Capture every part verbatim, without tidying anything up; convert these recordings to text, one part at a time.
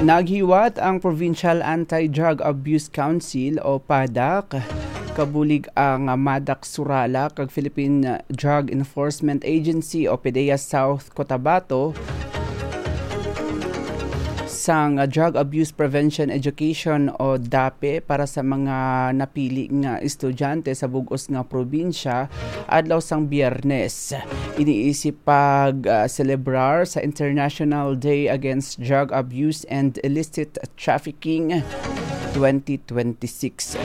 Naghiwat ang Provincial Anti-Drug Abuse Council o PADAC, kabulig ang MADAC Surallah kag Philippine Drug Enforcement Agency o PDEA South Cotabato sang Drug Abuse Prevention Education o DAPE para sa mga napili nga estudyante sa bug-os nga probinsya adlaw sang Biyernes. Iniisip pag, ah, selebrar sa International Day Against Drug Abuse and Illicit Trafficking twenty twenty-six.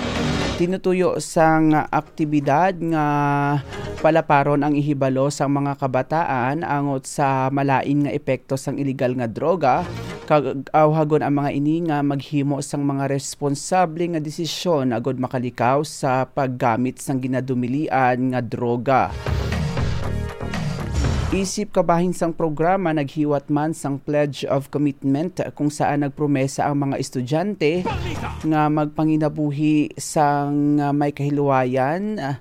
Tinutuyo sang aktibidad nga palaparon ang ihibalo sang mga kabataan angot sa malain nga epekto sang iligal nga droga, kag awhagon ang mga ini nga maghimo sang mga responsable nga desisyon agud makalikaw sa paggamit sang ginadumilian nga droga. Isip kabahin sang programa, naghiwat man sang Pledge of Commitment, kung saan nagpromesa ang mga estudyante nga magpanginabuhi sang may kahiluwayan, ah,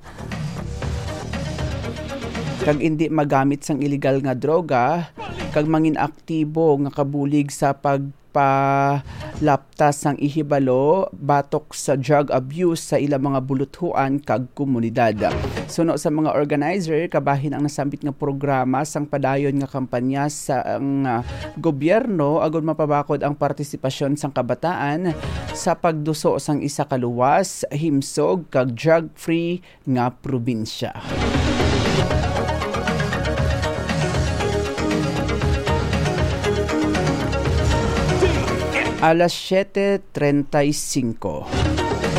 kag indi magamit sang iligal nga droga, kag mangin aktibo nga kabulig sa pagpalaptas sang ihibalo batok sa drug abuse sa ilang mga buluthuan kag komunidad. Suno sa mga organizer, kabahin ang nasambit nga programa sang padayon nga kampanya sang, ah, gobyerno agud mapabakod ang partisipasyon sang kabataan sa pagduso sang isa ka luwas, himsog, kag drug-free nga probinsya. Alas siete treinta y cinco.